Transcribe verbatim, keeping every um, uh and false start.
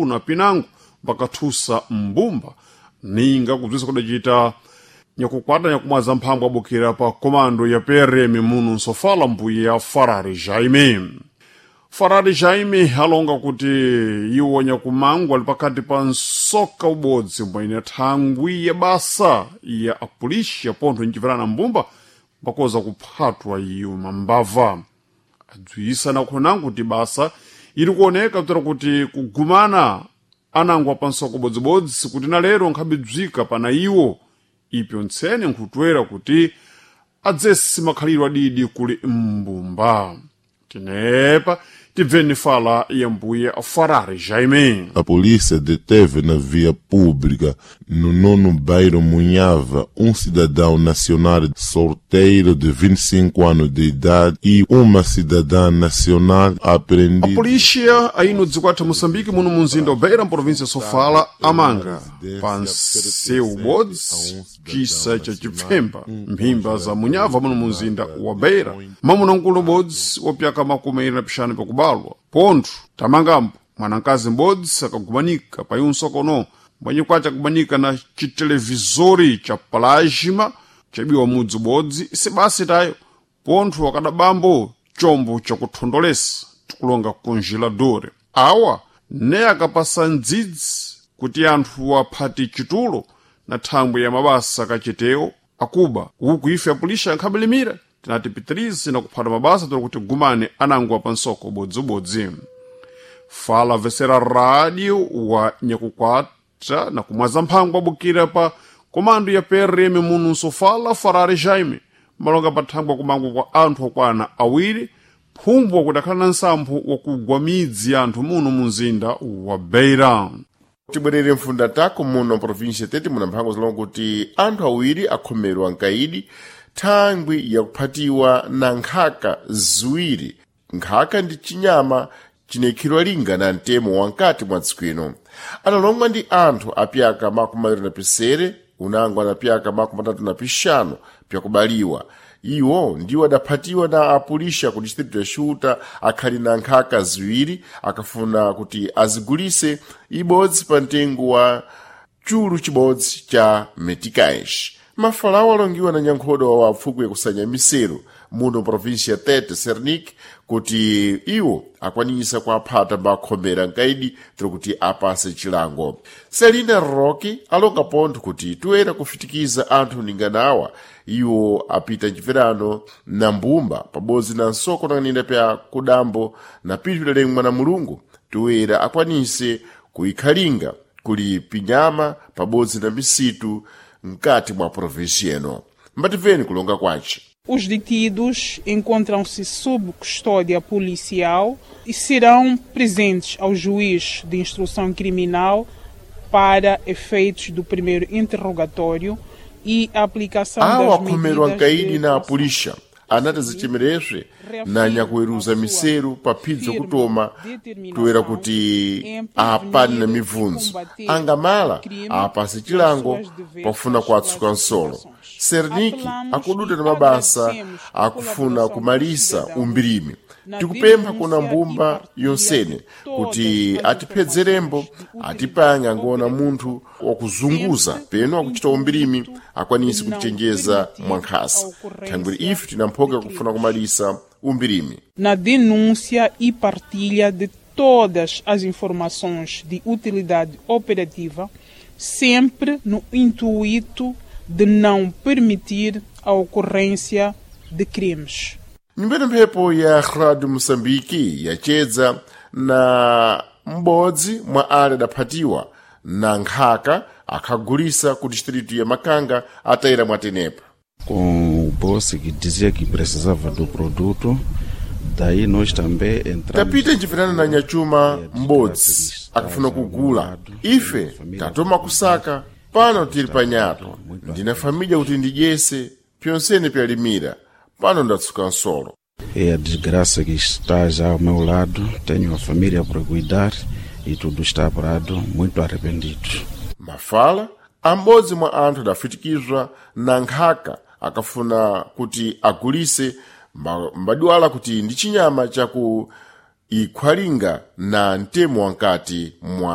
Na pinango mpakathusa mbumba ninga kubzisa kudacita nyakukwata nyakumwaza mphambo abukira pa komando ya P R M muno nsofala mbuya Farari Jaime. Farari Jaime alonga kuti iwo nyakumango ali pakati pa nsoka ubodzi mbwene thangwi ya basa ya apulishi pontho ncipirana mbumba mbakoza kuphatwa iyo mambava. Adzwisa nakhonango kuti basa ili kuoneka kutera kuti kugumana anangwa pa nsoko bodzibodzi kuti na lero nkhabidzwika pana iwo ipyo ntsene nkhutwera kuti adzesi makhalidwe adidi kuli mbumba. Tinepa tibveni fala ya mbuya Farari Jaime. A polícia deteve na via pública, no nono bairro Munhava, um cidadão nacional solteiro de vinte e cinco anos de idade e uma cidadã nacional A apreendida. Polícia aí no dzikwatha Moçambique muno munzinda wa Beira, província Sofala, amanga pa nseu bodzi cisa cha chipfemba mphimba za Munyava muno munzinda wa Beira mamuna nkulu bodzi wapyaka makumi airi na pixanu pakubalwa pontho tamangambo mwanankazi m'bodzi akagumanika pa iunsokono mbwenye kwace akumanika na chitelevizori cha plasma chabiwa mudzi ubodzi isibasi tayo pontho akadabambo chombo chakuthondolesa tikulonga congelador awa ne akapasa ndzidzi kuti anthu aphati chitulo na thangwi ya mabasa kachitewo akuba uku ife apulisha ankhabelimira tinati pitirize na kuphata mabasa toli kuti gumane anangwa pa nsoko bodzibodzi. Fala vesera rádio wa nyakukwata na kumwaza mphango abukira pa komando ya P R M muno nsofala Farari Jaime malonga pathangwa kumangwa kwa anthu okwana awiri phumbu wakuti akhala na nsampho wakugwa midzi ya anthu muno munzinda wa Beira. Tibwerere mfunda tako muno província Tete muna mphango zilonga kuti anthu awiri akhomerwa nkaidi thangwi yakuphatiwa na nkhaka ziwiri. Nkhaka ndi chinyama chinekhidwa linga na mtemo wankati mwa dziko ino. Analongwa ndi anthu apyaka makumi awiri na pisere unango anapyaka makumi atatu na pixanu pyakubaliwa. Iwo ndiwo adaphatiwa na apulisha ku distritu ya Xuta akhali na nkhaka ziwiri akafuna kuti azigulise ibodzi pa mtengo wa chulu chibodzi cha meticais. Mafalawo alongiwa na nyankhodo wa apfukwe yakusanya miseru muno província ya Tete Sernik kuti iwo akwanisa kuaphata mbakhomera nkaidi tiri kuti apase chilango. Selina Rocky alonga pontho kuti toera kufitikiza anthu ninganawa iwo apita mchipirano na mbumba pabodzi na nsoko nanganinda pya kudambo na pithu lalengwa na Mulungu toera akwanise kuikhalinga kuli pinyama pabodzi na misitu mkati mwa província ino. Mbatimveni kulonga kwace. Os detidos encontram-se sob custódia policial e serão presentes ao juiz de instrução criminal para efeitos do primeiro interrogatório e a aplicação Awo das akhomerwa medidas nkaidi de na coação. apulisha anati zichemereswe na nyakuweruza miseru pa phibzo kutoma toera kuti apane na mibvunzo angamala apase chilango pofuna kuatsuka nsolo. Serniki akuduta na mabasa akufuna kumalisa umbirimi. Tikupempha kuna mbumba yonsene kuti atiphedzerembo atipange angoona munthu wakuzunguza peno akuchita umbirimi akwanise kutichenjeza mwankhasa thangwiri ife tinamphoka kufuna kumalisa umbirimi. Na denúncia e partilha de todas as informações de utilidade operativa, sempre no intuito de não permitir a ocorrência de crimes. Nyumbeni mphepo ya Rádio Moçambique yachedza na m'bodzi mwa ale adaphatiwa na nkhaka akhagulisa ku distritu ya Makanga atayira mwatenepa. Com o boss que dizia que precisava do produto, daí nós também entramos. Tapita nchipirana na nyachuma m'bodzi akafuna kugula ife tatoma kusaka pano tili panyato ndina família kuti ndidyese pyonsene pyalimira pano ndatsuka nsolo. É a desgraça que está já ao meu lado, tenho a família para cuidar e tudo está parado, muito arrependido. Mafala ambodzi mwa anthu adafitikizwa na nkhaka akafuna kuti agulise mba- mbadwala kuti ndi chinyama chaku ikhwalinga na mtemo wankati mwa